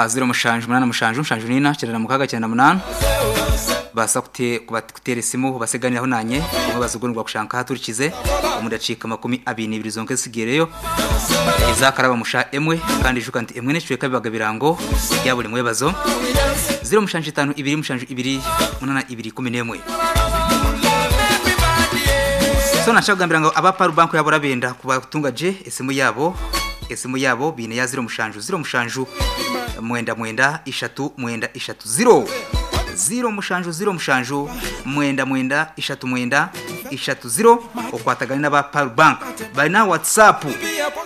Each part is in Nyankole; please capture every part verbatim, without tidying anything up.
Ha ziro mushanju munana mushanju mushanju nina kyenda na mukaga kyenda na munana. Basa kute kubatera esimu baseganiraho nanye mwebazo gwo kushanka haturikize omu dakiika makumi abiri n'ibiri zonka ezisigireyo ezakaraba musha emwe kandi ijuka nti emwe n'ekicweka bibaga birango bya buri mwebazo ziro mushanju itanu ibiri mushanju ibiri munana ibiri kumi n'emwe. So nashaka kugambira ngo aba Paru Bank yabo rabenda kubatunga je esimu yabo esimu yabo bine ya ziro mushanju ziro mushanju mwenda mwenda ishatu mwenda ishatu ziro ziro mushanju ziro mushanju mwenda mwenda ishatu mwenda ishatu ziro okwatagana n'aba Paru Bank bari na WhatsApp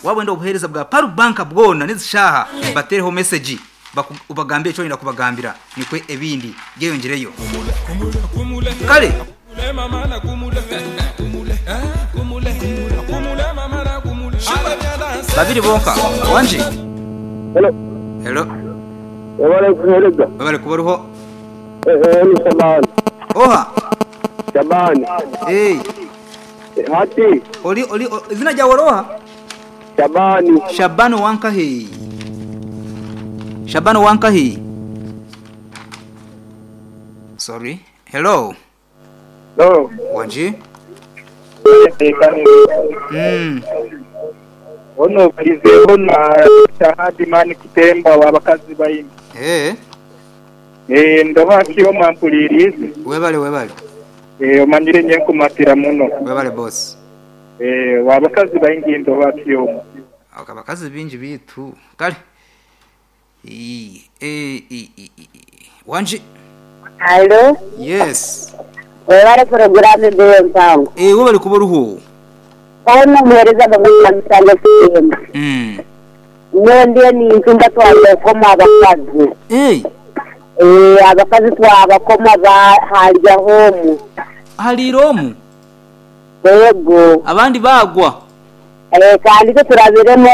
wabwenda obuhereza bwa Paru Bank bwona nizishaha batereho message baku- ubagambire icyo wenda kubagambira nikwe ebindi byeyongereyo kale. Babiri bonka wanje. Hello. Hello. Wabale kuhereza. Babale kubaruho. Eh eh ni Shabani. Oha. Shabani. Eh. Hati Oli oli o- izina ryawe roha? Shabani. Shabani wankahi. Shabani wankahi. Sorry. Hello. No. Wanji. Mm. Ono balizeho na Shahadi mani kutemba wabakazi bayini. Eh. Eh ndoba kiyo mampulirizi. Webale webale. Eh omanyire nye nkumatira muno. Webale boss. Eh wabakazi bayingi ndoba kiyo. Akabakazi bingi bitu. Kale. E e e e. e. Wanji. Alo, Yes. webale porogaramu mbeyo mpango. Eh webale kubaruho. Ono muhereza bamwe musango sema. Mm. Nyo ni ntumba twabakoma abakazi. Eh. Eh abakazi twabakoma ba halya homu. Hali romu. Yego. Abandi bagwa. Eh kandi ko turabiremo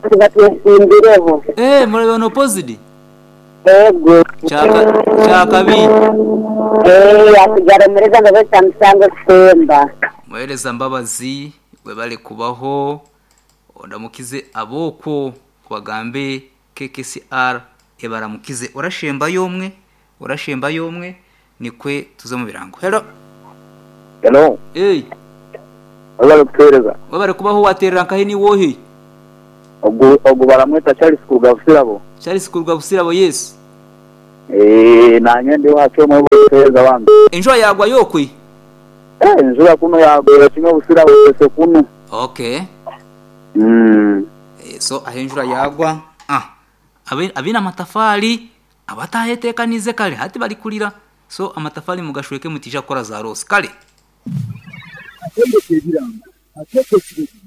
tubatwimbireho. Eh murabona opposite. Yego. Chaka chakabi. Eh asigara muhereza bamwe musango semba. Muhereza Mbabazi webale kubaho ondamukize aboko kubagambe K K C R ebaramukize orashemba yomwe orashemba yomwe nikwe tuze mu birango. Hello. Hello. Eh Wabale kuhereza. webale kubaho waterera nkahe ni wohe? Ogu ogu baramweta Charles Kugabusirabo. Charles Kugabusirabo yes. Eh nanye ndi wacho mwe kuhereza wangu. Enjoy yagwa yokwe. Eh nzura kuno yagwera kimwe busirabo pese kuno. Okay. Mm. Eh, so ahenjura yagwa ah abe abina amatafari abatahetekanize kale hati bali kulira so amatafari mugashweke mutija kora za rose kale. Atendeka ebiranga, ateeka ekirezi.